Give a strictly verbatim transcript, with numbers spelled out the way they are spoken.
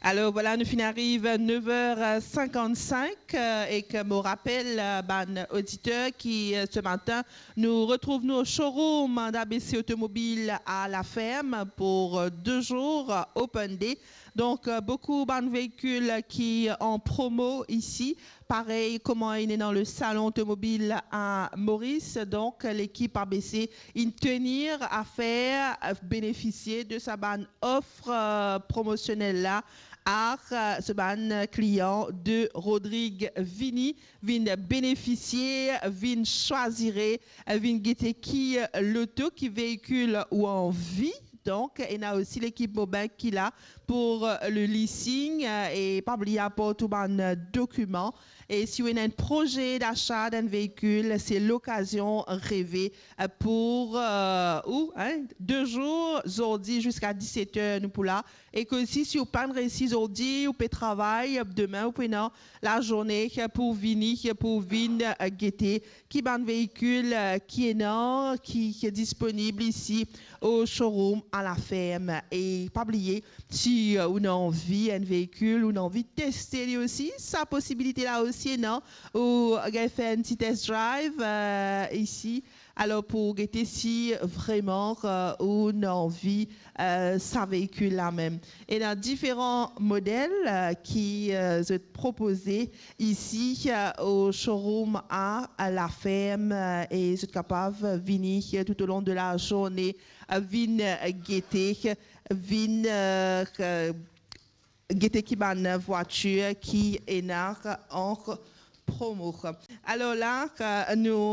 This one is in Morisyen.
Alors voilà, nou finn ariv nev er sinkant-sink, euh, ek mo rapel, euh, bann oditer ki, euh, ce matin, nou retrouv nou au showroom d'A B C Automobile à La Ferme pour, euh, deux jours, euh, open day. Donc, euh, beaucoup bann veikil ki an promo isi, parey kouma inn ena le salon automobile à Maurice. Donc, lekip A B C inn tenir a fer, euh, benefisie de sa bann off, euh, promosionel la, ar, euh, so bann klian de Rodrig. Vini, vinn benefisie, vinn swazire, vinn gete ki, euh, loto, ki veikil ou anvi. Donk, ena osi lekip Mobank ki la pour, euh, le leasing, euh, e pa bliye aport ou bann, euh, dokiman. E si ou ena enn proze dacha d'enn veikil, se lokazion reve, euh, pour, euh, ou, hein, de zour, zordi ziska diset er, nou pou la. E ke si, si ou pa'nn resi zordi, ou pe travay, demin ou pou ena lazourne pou vini, pou vinn, euh, gete ki bann veikil, euh, ki ena, ki, ki disponib isi au showroom à La Ferme. E pa bliye, si, euh, ou ena anvi enn veikil, ou ena anvi teste li osi, sa posibilite la osi ena, ou gagn fer enn ti test drive, euh, isi. Alor, pou gete si vreman, euh, ou ena anvi, euh, sa veikil la mem. Ena diferan model, euh, ki, euh, zot propoze isi, euh, au showroom à La Ferme, euh, e zot kapav vini, euh, tout au long de la journée, euh, vinn, euh, gete, vinn, euh, euh, gete ki bann vwatir ki ena an promo. Alor la, euh, nou